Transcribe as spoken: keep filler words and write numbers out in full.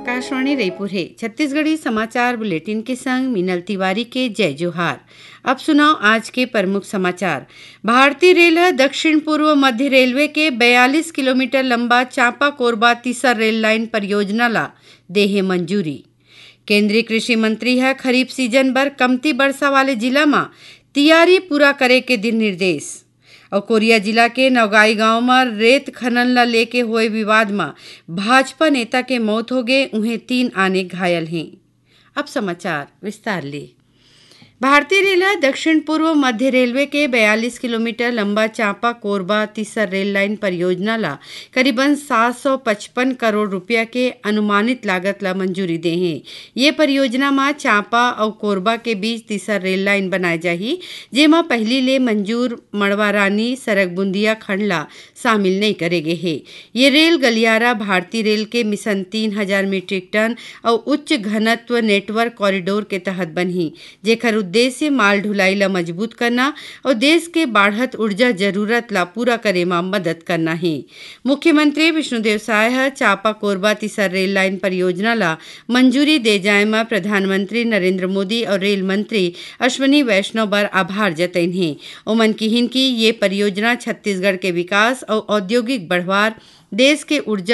आकाशवाणी रईपुर हे। छत्तीसगढ़ी समाचार बुलेटिन के संग मीनल तिवारी के जय जोहार। अब सुनव आज के प्रमुख समाचार। भारतीय रेल ह दक्षिण पूर्व मध्य रेलवे के बयालीस किलोमीटर लंबा चांपा कोरबा तीसर रेल लाइन परियोजना ला देहे मंजूरी। केंद्रीय कृषि मंत्री ह खरीफ सीजन बर कमती बरसा वाले जिला म तियारी पूरा करे के दिन निर्देश। अउ कोरिया जिला के नौगाई गांव म रेत खनन ला लेके होए विवाद म भाजपा नेता के मौत होगे, उहें तीन आने घायल हें। अब समाचार विस्तार ले। भारतीय रेल ह दक्षिण पूर्व मध्य रेलवे के बयालीस किलोमीटर लंबा चांपा कोरबा तीसर रेल लाइन परियोजना ला करीबन सात सौ पचपन करोड़ रुपया के अनुमानित लागत ला मंजूरी दे हे। ये परियोजना म चांपा अउ कोरबा के बीच तीसर रेल लाइन बनाए जाही, जेमा पहिली ले मंजूर मड़वारानी सरगबुंदिया खंड ला शामिल नइ करे गे हे। ये रेल गलियारा भारतीय रेल के मिशन तीन हजार मीट्रिक टन अउ उच्च घनत्व नेटवर्क कॉरिडोर के तहत बनही, जेखर उद्देश्य माल ढुलाई ला मजबूत करना अउ देश के बाढ़त ऊर्जा जरूरत ला पूरा करे म मदद करना हे। मुख्यमंत्री विष्णुदेव साय ह चांपा कोरबा तीसर रेल लाइन परियोजना ला मंजूरी दे जाए म प्रधानमंत्री नरेंद्र मोदी अउ रेल मंत्री अश्विनी वैष्णव बर आभार जतइन हे। ओमन किहिन कि ये परियोजना छत्तीसगढ़ के विकास अउ औद्योगिक बढ़वार, देश के ऊर्जा